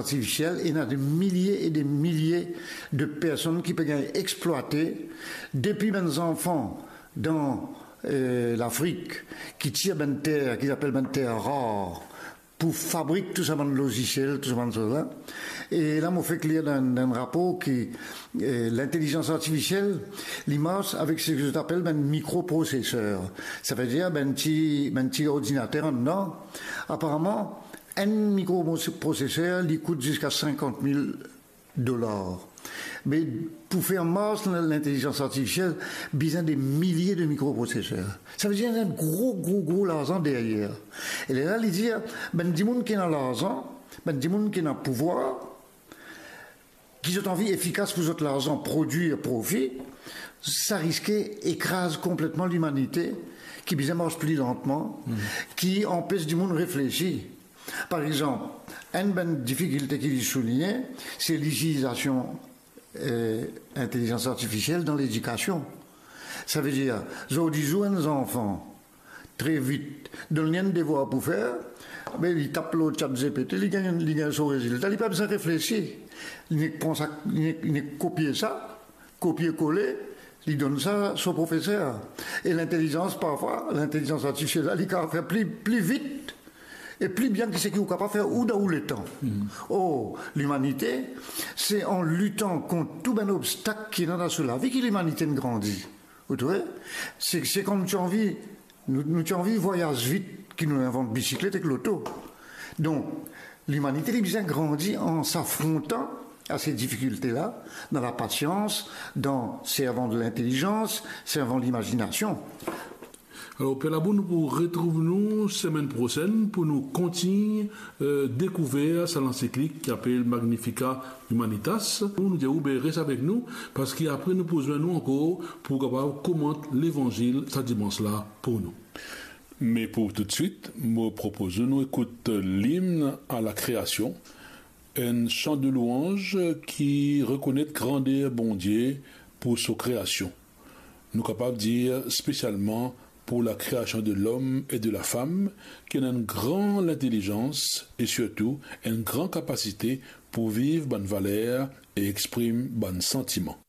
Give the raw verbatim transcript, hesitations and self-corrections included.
artifisiel, ena de milie e de milie de personn ki pe gagn explwate, depi bann zanfan dan, eh, Lafrik, ki tir bann ter, ki apel bann ter rar, pou fabrik tou sa bann lozisiel, tou sa bann soz la. E la, mo fek lir dan, dan enn rapor ki, eh, lintelizans artifisiel, li mars avek seki zot apel bann mikroproseser. Savedir bann ti, bann ti ordinater anndan. Aparaman, enn mikroproseser, li kout ziska sinkant mil dolar. Me pou fer mars lintelizans artifisiel, bizin de milie de mikroproseser. Savedir enn gro, gro, gro larzan deryer. E lerla, li dir, bann dimoun ki ena larzan, bann dimoun ki ena pouvwar, ki zot anvi efikas pou zot larzan, prodwir profi, sa riske ekraz konpletman limanite, ki bizin mars pli lantman, ki anpes dimoun reflesi. Par exanp, enn bann difikilte ki li souligne, se litilizasion, eh, intelizans artifisiel dan ledikasion. Savedir, zordi zour enn zanfan, tre vit, donn li enn devwar pou fer, be li tap lor ChatGPT, li gagn, li gagn so rezilta, li pa bizin reflesi. Li nek pran sa, li nek, li nek kopie sa, kopie kole, li donn sa so profeser. E lintelizans, parfwa, lintelizans artifisiel la, li kapav fer pli, pli vit e pli bien ki seki ou kapav fer ou dan ou letan. Or, limanite, se an litan kont tou bann obstak ki ena dan so lavi ki limanite inn grandi. Ou trouve? Se, se kan nou ti anvi, nou, nou ti anvi vwayaz vit ki nou invant bisiklet ek loto. Donk, limanite, li bizin grandi an safrontan a se difikilte la, dan lapasians, dan servan de lintelizans, servan limazinasion. Alor, Per Labou, nou pou retrouv nou semenn prosenn pou nou kontign, eh, dekouver sa lansiklik ki apel Magnificat Humanitas. Nou dir ou, be res avek nou, parski apre nou pou zwenn nou ankor pou kapav komant Levanzil sa dimans la pou nou. Me pou toutswit, mo propoz nou ekout limn a lakreasion, enn san de louanz ki rekonet grander Bondie pou so kreasion. Nou kapav dir spesialman pou lakreasion de lom e de lafam, ki ena enn gran lintelizans e sirtou enn gran kapasite pou viv bann valer e exprim bann santiman.